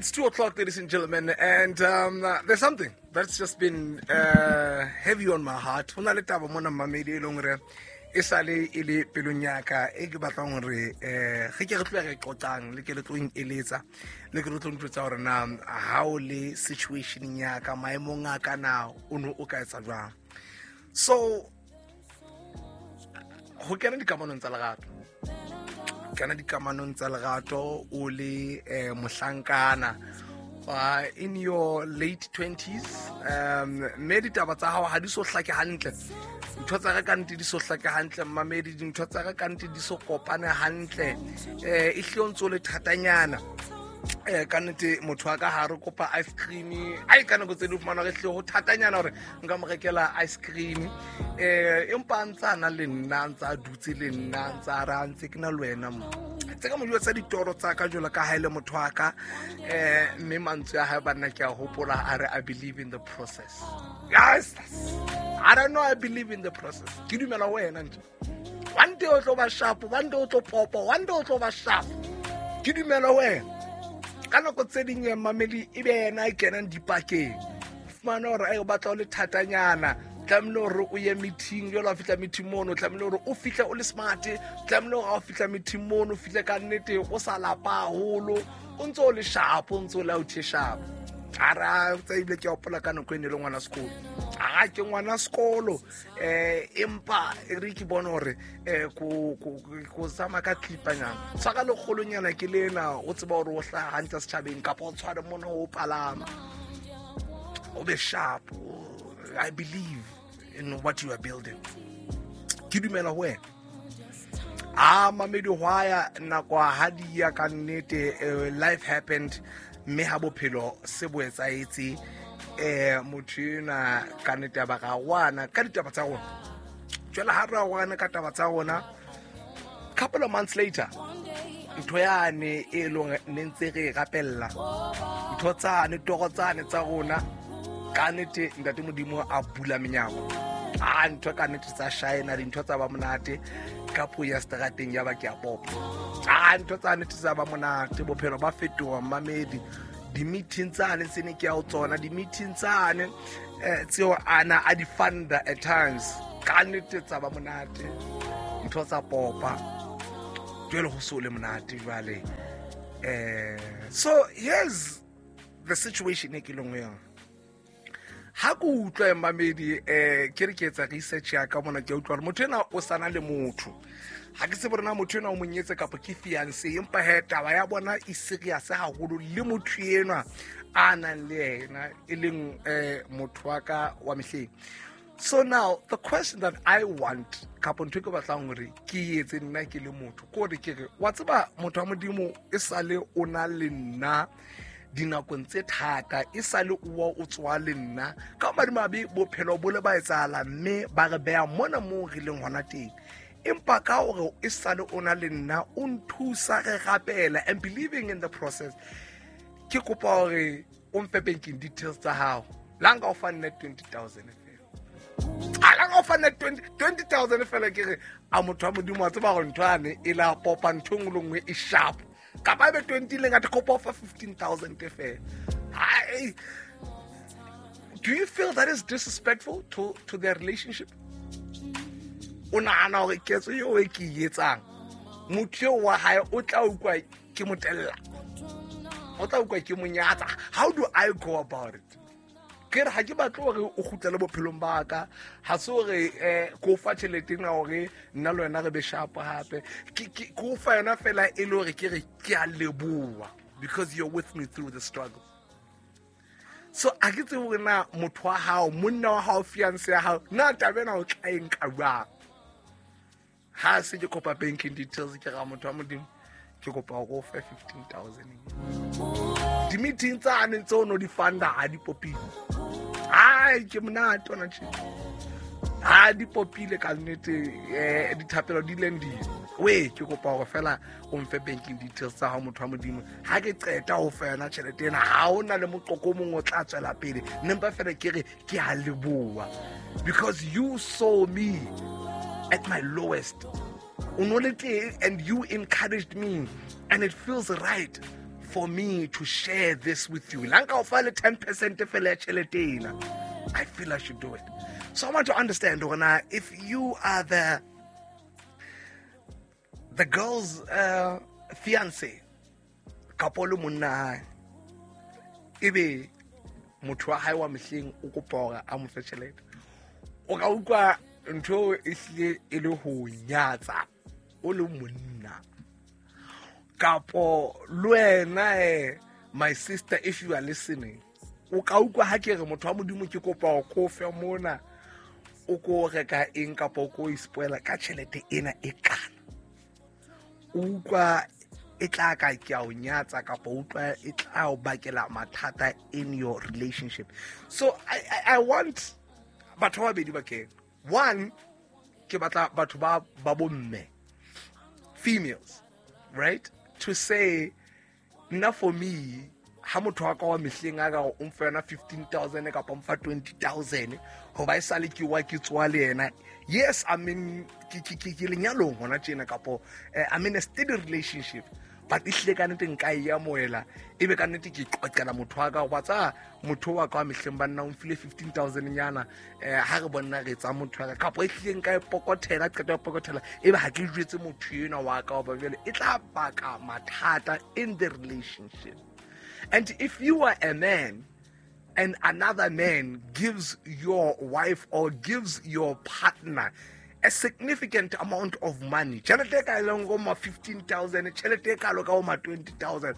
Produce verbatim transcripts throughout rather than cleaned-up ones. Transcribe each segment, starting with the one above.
It's two o'clock, ladies and gentlemen, and um, uh, there's something that's just been uh, heavy on my heart. Ho na le taba mona mmamedi e leng hore e sale e le pelong ya ka e ke batlang hore eh ge ke re tloha re qoqang le ke le tlo eletsa le ke le tlo ntjwetsa hore na ha o le situation ya ka maemong a ka na o no o ka etsa jwang. So ho kena dikamanong tsa lerato, kana dikamanong tsa lerato o le eh, mohlankana uh, in your late twenties, um mme ditaba tsa hao ha di so hlake hantle, ntho tsa ka ka nnete di so hlake hantle mmamedi, dintho tsa ka ka nnete di so kopane hantle, eh e hle o ntso le thatanyana. Eh ka nnete motho wa ka ha re kopa ice cream, ai ka nako tse di fumana re hle ho thatanyana hore nka mo rekela ice cream, eh empa a ntsa na le nna, a ntsa a dutse le nna, a ntsa a re a ntse ke na le wena mo. Tse ka mo jwetsa ditoro tsa ka jwalo ka ha e le motho wa ka, eh mme mantswe a hae banna ke a hopola a re I believe in the process. Yes, I don't know, I believe in the process. Ke dumela ho wena nje. One day o tlo ba sharp, one day o tlo popa, one day o tlo ba sharp. Ke dumela ho wena. Ka nako tse ding ya mamedi e be yena a kenang dipakeng. Fumana hore ai o batla ho le thatanyana, tlamehile hore o ye meeting, jwale ha o fihla meeting mono, tlamehile hore o fihle o le smart, tlamehile hore ha o fihla meeting mono, o fihle ka nnete o sa lapa haholo, o ntso o le sharp, o ntso o le out sharp. Ara tsa ebile ke a hopola ka nako e ne le ngwana sekolo. A ke ngwana sekolo, eh empa e re ke bone hore eh ko ko ko tsamaya ka clipanyana. Tshwara lekgolonyana ke lena, o tseba hore o hlaha hantle setjhabeng kapa o tshware mona o palama. O be sharp. I believe in what you are building. Ke dumela ho wena. Ah mamedi hwaya nako ha di ya ka nnete, eh, life happened, mme ha bophelo se bo etsahetse, eh motho enwa ka nnete ya ba ra wana ka ditaba tsa rona. Jwale ha re wana ka taba tsa rona, couple of months later, ntho yane e leng ne ntse re e rapella, ntho tsane toro tsane tsa rona, ka nnete ntate Modimo a bula menyako. Ah ntho ka nnete tsa shine, dintho tsa ba monate ka puo ya strateng ya ba ke a popa. Ah ntho tsa nnete tsa ba monate, bophelo ba fetoha mmamedi. Di-meeting tsane tse ne ke ya ho tsona, di-meeting tsane eh tseo ana a di funda at times, ka nnete tsa ba monate, ntho tsa popa. Jwale ho so le monate jwale. Eh so here's the situation e ke leng ho yona. Ha ke utlwa mmamedi, eh ke re ke etsa research ya ka mona, ke utlwa hore motho ena o sana le motho. Ha ke tsebe hore na motho ena o monyetse kapa ke fiancé, empa he taba ya bona e serious haholo le motho enwa a nang le yena, e leng eh motho wa ka wa mehleng. So now the question that I want, kapa ntho e ke batlang hore ke etse nna ke le motho, ke hore ke re wa tseba motho wa Modimo e sale o na le nna dinakong tse thata, e sale o wa o tswa le nna ka madimabe bophelo bo le ba etsahala mme ba re beha mona moo re leng hona teng, empa ka hore e sale o na le nna o nthusa re rapela and believing in the process, ke kopa hore o mfe banking details tsa hao. La nka o fa nna twenty thousand fela, a la nka o fa nna twenty thousand fela, ke re a motho wa Modimo wa tseba hore ntho yane e la popa ntho e nngwe le nngwe e sharp, kapa ebe twenty le ngata kopa fa fifteen thousand fela. Ai, do you feel that is disrespectful to to their relationship? O nahana hore ketso eo e ke e etsang, motho eo wa hae o tla utlwa ke mo tella, o tla utlwa ke mo nyatsa? How do I go about it? Ke re ha ke batle hore o kgutlele bophelong ba ka, ha se hore eh ko fa tjhelete ena hore nna le wena re be sharp hape, ke ke ko fa yona fela e le hore ke re ke a leboha because you're with me through the struggle. So a ke tsebe hore na motho wa hao, monna wa hao, fiancé ya hao, na taba ena o tla e nka jwang? Ha se ke kopa banking details, ke ra motho wa Modimo ke kopa hore o fe fifteen thousand. Di-meeting tsane tseo no di funda ha di popile. Ai ke monate ona tjhe. Ha di popile ka nnete, eh dithapelo di leng di. We ke kopa hore fela o mfe banking details tsa hao motho wa Modimo. Ha ke qeta ho fa yona tjhelete ena, ha hona le moqoqo o mong o tla tswela pele. Nne mpa fela ke re ke a leboha because you saw me at my lowest. O no le teng and you encouraged me and it feels right for me to share this with you. La nka o fa le ten percent fela ya tjhelete ena, I feel I should do it. So I want to understand, Rona, if you are the the girl's uh, fiance, kapo le monna hae, ebe motho wa hae wa mehleng o kopa hore a mo fe tjhelete, o ka utlwa ntho e hlile e le ho nyatsa o le monna. Kapo le wena, eh, my sister, if you are listening, o ka utlwa ha ke re motho wa Modimo ke kopa ho ko fe mona, o ko reka eng kapo o ko ispoila ka tjhelete ena e kana. O utlwa e tla ka ke a o nyatsa kapo o utlwa e tla o bakela mathata in your relationship. So I, I, I want batho ba babedi ba kene. One, ke batla batho ba, ba bomme, females, right? To say, nna for me, ha motho wa ka wa mehleng a ka o mfa yona fifteen thousand kapa o mfa twenty thousand, hoba e sale ke wa ke tswa le yena. Yes, I mean, ke, ke, ke, ke lenyalong hona tjena kapo, eh, I'm in a steady relationship. But ehlile ka nnete nka e amohela, ebe ka nnete ke qoqela motho wa ka, wa tsa motho wa ka wa mehleng ba nna o mfile fifteen thousand nyana, eh, ha re bona re tsa motho wa ka, kapo ehlile nka e pokothela, qeta ho pokothela, ebe ha ke jwetse motho enwa wa ka, hoba jwale e tla baka mathata in the relationship. And if you are a man and another man gives your wife or gives your partner a significant amount of money, tjhelete e ka leng go ma fifteen thousand, tjhelete e kalo ka ho ma twenty thousand,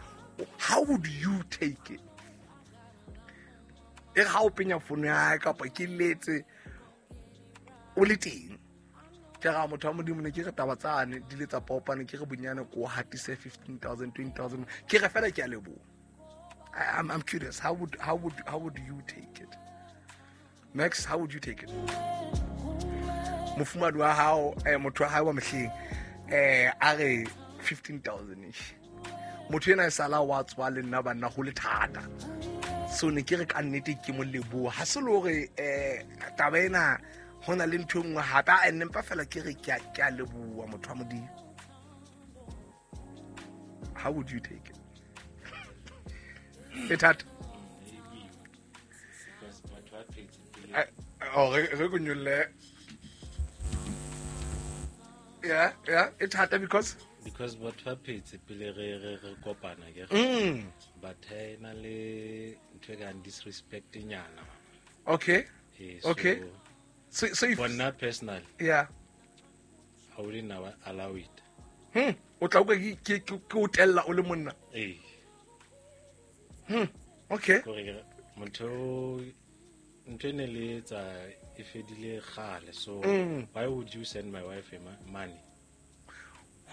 how would you take it? E re ha o penya fono ya hae kapa ke letse o le teng, ke ra motho wa Modimo ne ke re taba tsane di le tsa popane, ke re bonyane ko hatise fifteen thousand, twenty thousand, ke re fela ke a leboha. I, I'm, I'm curious, how would, how would, how would you take it? Max, how would you take it? Mofumadi wa hao, eh, motho wa hae wa mehleng, eh, a re fifteen thousand ish. Motho ena e sala wa tswa le nna banna ho le thata. So ne ke re ka nnete ke mo leboha. Ha se le hore, eh, taba ena ho na le ntho e nngwe hape, a nne mpa fela ke re ke a, ke a leboha motho wa Modimo. How would you take it? E thata. Eh, oh, re, re ko nyolle. Yeah, yeah, it happened because because batho ba phetse pele re, re, re kopana ke re. Mm. But ha ena le ntho e kang disrespect nyana. Okay. Eh, so Okay. So, so if for nna personally, Yeah. I wouldn't allow it. Hmm. O tla utlwa ke, ke, ke, ke o tella o le monna. Eh. Hmm. Okay. Kore motho ntho e ne le etsa e fedile kgale, so Mm. why would you send my wife a ma-, money?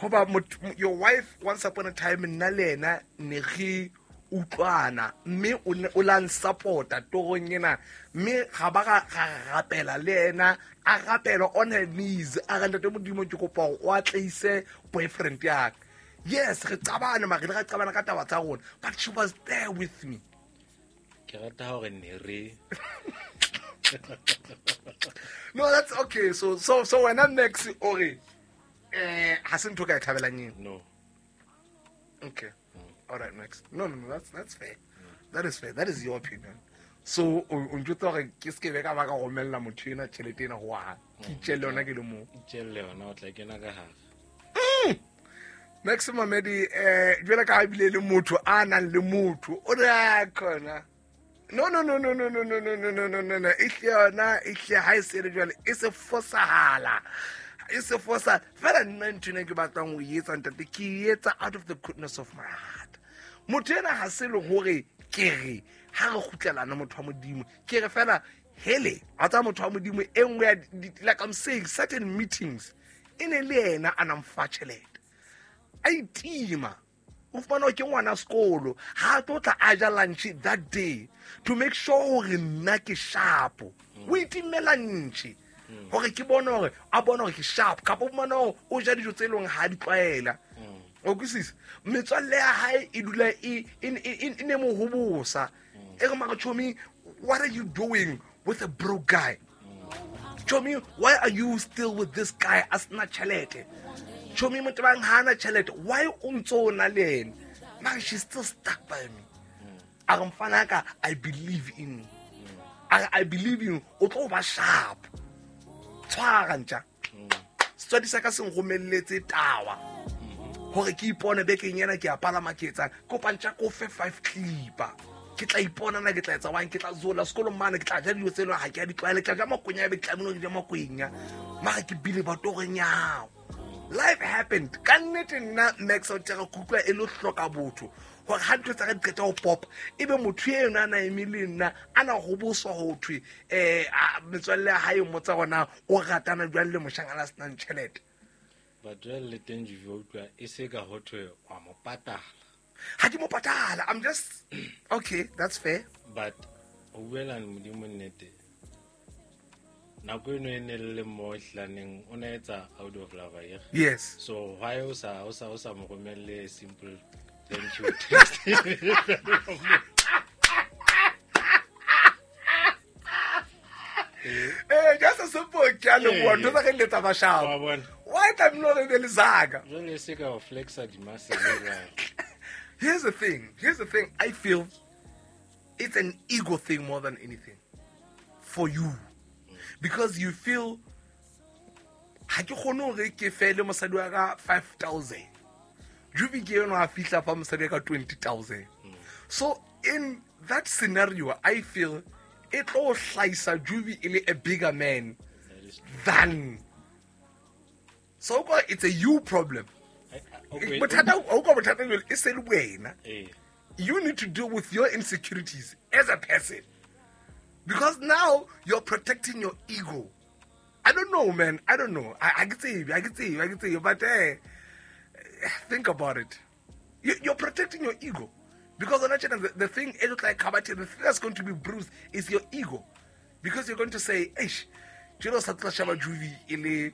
Hoba motho, your wife once upon a time nna le yena ne re utlwana, mme o ne o la nsupporta torong ena, mme ga ba ga, ga rapela le yena, a rapela on her knees, a re ntate Modimo ke kopa hore o atleise boyfriend ya ka. Yes, re qabane, mare re qabana ka taba tsa rona, but she was there with me. Ke rata hore ne re No, that's okay. So, so, so wena Max o re, eh, ha se ntho ka e thabelang eo? No. Okay. All right, Max. No, no, no, that's, that's fair. That is fair. That is your opinion. So, o, o ntjwetsa hore ke se ke be ka ba ka romella motho ena tjhelete ena ho hang. Ke itjelle yona ke le mong. Itjelle yona, o tla kena ka hare. Mm. Max Mamedi, eh, jwale ka ha ebile le motho a nang le motho, o re a khona. No, no, no, no, no, no, no, no, no, no, no, no, no. E hle yona, e hle ha e se le jwale, e se fosahala. E se fosa. Fela nna ntho ena ke batlang ho e etsa, ntate, ke e etsa out of the goodness of my heart. Motho ena ha se le hore ke re, ha re kgutlelana motho wa Modimo, ke re fela, hele, wa tseba motho wa Modimo, e nngwe ya di-, di-, like I'm saying, certain meetings, e ne le yena a nang fa tjhelete. A itima. O fumana hore ke ngwana sekolo, ha a tlo tla a ja lunch that day to make sure hore nna ke sharp. O itimela lunch hore ke bone hore a bone hore ke sharp, kapa o fumana hore o ja dijo tse leng ha di tlwaela. O kwisisa? Metswalle ya hae e dula e, e, e, e ne mo hobosa. E re mara chomi, what are you doing with a broke guy? Chomi, why are you still with this guy a sena tjhelete? Chomi, motho bang ha ana tjhelete, why o ntso o na le yena? Mara she's still stuck by me. A re mfanaka, I believe in you. A re I believe in you, o tlo ba sharp. Tshwara ntja. Setswadi sa ka se nromelletse tawa. Hore ke ipone bekeng ena ke a palama ke etsang. Kopa ntja ko fe five clipper. Ke tla ipona na ke tla etsa wang, ke tla zola sekolong mane, ke tla ja dilo tse leng ha ke a di tlwaele, ke tla ja makwenya ebe ke tlamehile ke ja makwenya. Mara ke bile ba toreng ya hao. Life happened. Ka nnete nna Max o tjera ke utlwa e le hloka botho. Hore ha ntho tsa ka di qeta ho pop, ebe motho eno a na eme le nna, a na ho boswa ho thwe, eh, metswalle ya hae mmotsa hore o ratana jwang le moshanyana a senang tjhelete. But jwale le teng Juve o utlwa e se ka ho thwe wa mo patala. Ha ke mo patala, I'm just okay, that's fair. But ho buela Modimo nnete, nako eno e ne le mo hlaneng o na etsa out of love ye. Yes. So why o sa o sa o sa mo romelle simple thank you text? Eh, just a simple ke a leboha, ntho tsa re letsa bashabo. Why tlamehile hore e be le zaka? Jwale se ka o flexa di-muscle jwale. Here's the thing. Here's the thing. I feel it's an ego thing more than anything for you. Because you feel ha ke kgone hore ke fele mosadi wa ka five thousand. Juve ke eno a fihla fa mosadi wa ka twenty thousand. So in that scenario, I feel e tlo hlaisa Juve e le a bigger man than. So it's a you problem. Okay. Bothata o ka bothata jwale e se le wena. You need to deal with your insecurities as a person. Because now you're protecting your ego. I don't know, man. I don't know. I, I can say, I can say, I can say, but eh, think about it. You, you're protecting your ego. Because on the, the thing, it looks like Kabati, the thing that's going to be bruised is your ego. Because you're going to say, Eish, jelo sa tla shaba Juve ele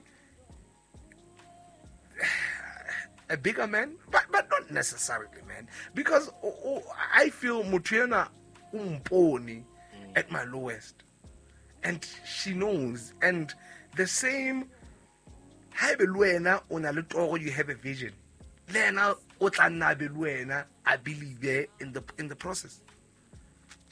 a bigger man, but but not necessarily, man. Because oh, oh, I feel motho o mpone at my lowest, and she knows. And the same, haebe le wena o na le toro, you have a vision. Le yena o tla nna be le wena, I believe in the in the process.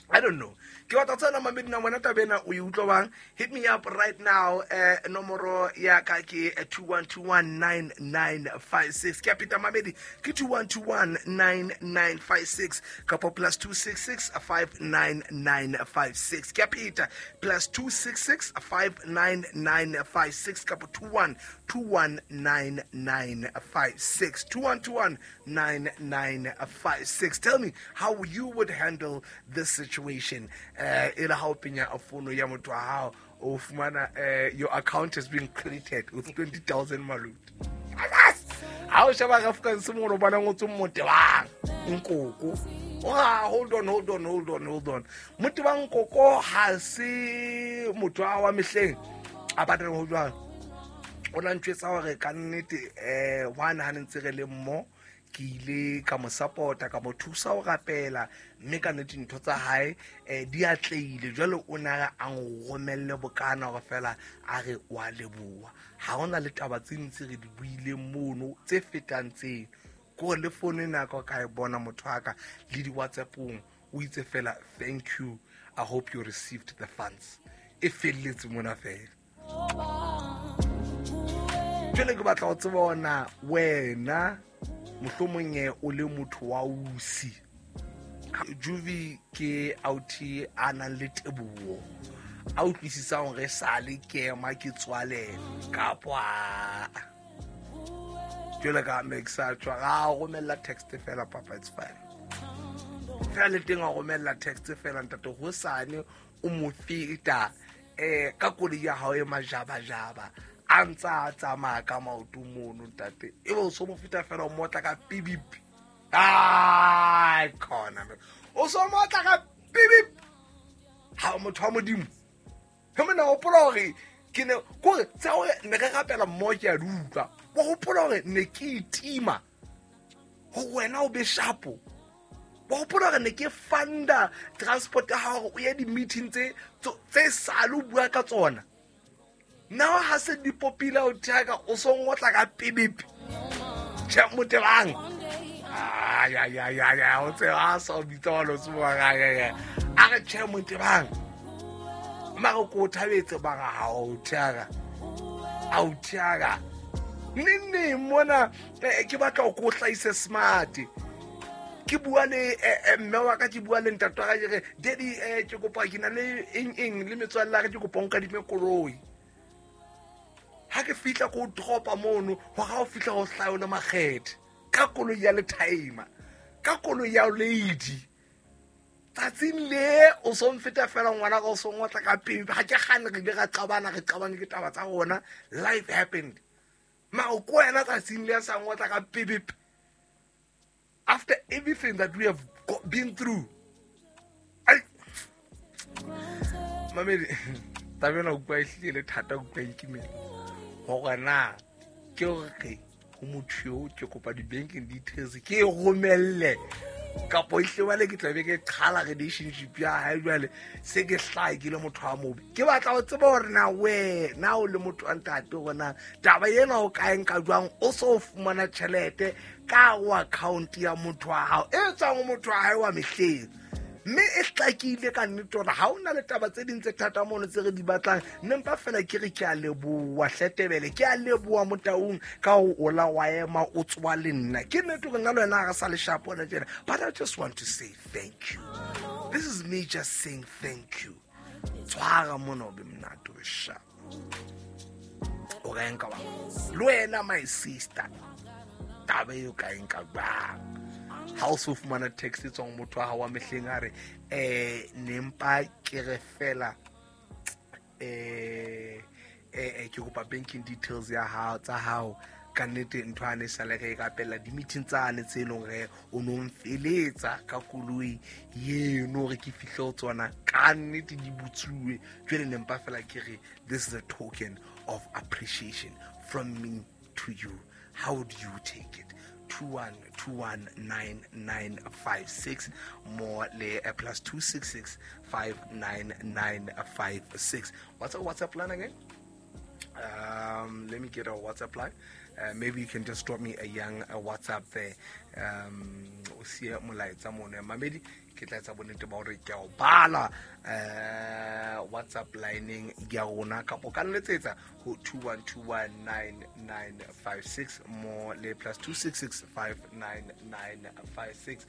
I don't know. Ke batla tsena mamedi na wena taba ena o e utlwa bang? Hit me up right now. Eh, nomoro ya ka ke two one two one nine nine five six. Ke a pheta mamedi ke two one two one nine nine five six kapa plus two six six five nine nine five six. Ke a pheta plus two six six five nine nine five six kapa two one two one nine nine five six. two one two one nine nine five six. Tell me how you would handle this situation. Eh, e le ha o penya a fono ya motho wa hao, o fumana, eh, your account has been credited with twenty thousand malut. Ha o sheba ka Afrikaans mo re bona ngotswe Motebang Nkoko. Ah, hold on, hold on, hold on, hold on. Motebang Nkoko ha se motho wa mehleng a batla ho jwang. O la ntjwetsa hore ka nnete eh one ha ntse re le mmo ke ile ka mo support-a, ka mo thusa ho rapela, mme ka nnete ntho tsa hae eh di atleile. Jwale o na a nromelle bokana hore fela a re wa leboha. Ha hona le taba tse ntse re di buileng mono tse fetang tseno. Ko le phone ena ka ka e bona motho wa ka le di WhatsApp-ong o itse fela thank you, I hope you received the funds. E felletse mona fela. Jwale ke batla ho tseba hore wena mohlomong o le motho wa usi. Juve ke authi a nang le teboho, a utlwisisang hore sale ke ema ke tswalela kapa jwale ka Max a tswa ga romella text fela, papa it's fine. Fela le teng a romella text fela ntate hosane o mo feta eh ka koloi ya hao e majabajaba a ntsa a tsamaya ka maoto mono ntate, e be o so mo feta fela o motla ka pibip. Ai khona o so motla ka pibip. Ha motho wa Modimo he mona hopola hore ke ne kore tsa hore ne re rapela mmoho ke a di utlwa. Wa hopola hore ne ke itima ho wena o be shapo. Wa hopola hore ne ke funda transport ya hao o ye di-meeting tse tse sale o bua ka tsona. Now ha se di popila o thaka o so ngotla ka pibip. Che Motebang. ya ya ya ya o tseba a sa o bitsa wa lo tsuba ya ya ya a re tjhe Motebang mara ko o thabetse ba ga ha o thiaka a o thiaka neng neng mona ke batla go ko hlahise smart ke bua le mme wa ka ke bua le ntate wa ka ke re daddy ke kopa ke na le eng eng le metswalle ya ka ke kopa o nkadime koloi ha ke fihla ko dropa mono ho ga o fihla ho hlaha le makgethe ka koloi ya letimer ka koloi ya lady tsatsing le o so mfeta fela ngwana ka o so ngotla ka pele ha ke gane re ile ra qabana re qabane ke taba tsa rona life happened ma o ko wena tsatsing le sa ngotla ka pele after everything that we have been through. I mamedi taba ena utlwa e hlile le thata utlwa e nkimela hore na ke hore ho motho eo ke kopa di-banking details ke e romelle kapo ehle jwale ke tlabe ke qhala relationship ya hae jwale se ke hlahe ke le motho wa mobe ke batla ho tseba hore na wena o le motho wa ntate hore na taba ena o ka e nka jwang o so fumana tjhelete ka ho account ya motho wa hao e tswang ho motho wa hae wa mehleng mme e hlakile ka nnete hore ha ona le taba tse ding tse thata mono tse re di batlang nne mpa fela ke re ke a leboha hletebele ke a leboha Motaung ka ho ola wa ema o tswa le nna ke nnete hore nna le wena ha re sa le sharp hona tjena but I just want to say thank you. This is me just saying thank you. Tshwara mona o be monate o sharp o ka nka wa le wena my sister taba eo ka nka jwang ha o so fumana text e tswang motho wa hao wa mehleng a re eh nempa ke re fela eh eh ke kopa banking details ya hao tsa hao ka nnete ntho a ne sale re ka pela di meeting tsane tse leng re o no mfeletsa ka koloi yeno re ke fihle ho tsona ka nnete di butsuwe jwale nempa fela ke re this is a token of appreciation from me to you. How do you take it? two one two one nine nine five six more le plus two six six five nine nine five six. What's our WhatsApp line again? Um, let me get our WhatsApp line. Uh, maybe you can just drop me a young a WhatsApp there. Um, o siye molaetsa mono mamedi ke tla etsa bonnete ba hore ke a o bala uh, WhatsApp lineng ya rona kapo ka nletsetsa ho two one two one nine nine five six more le plus two six six five nine nine five six.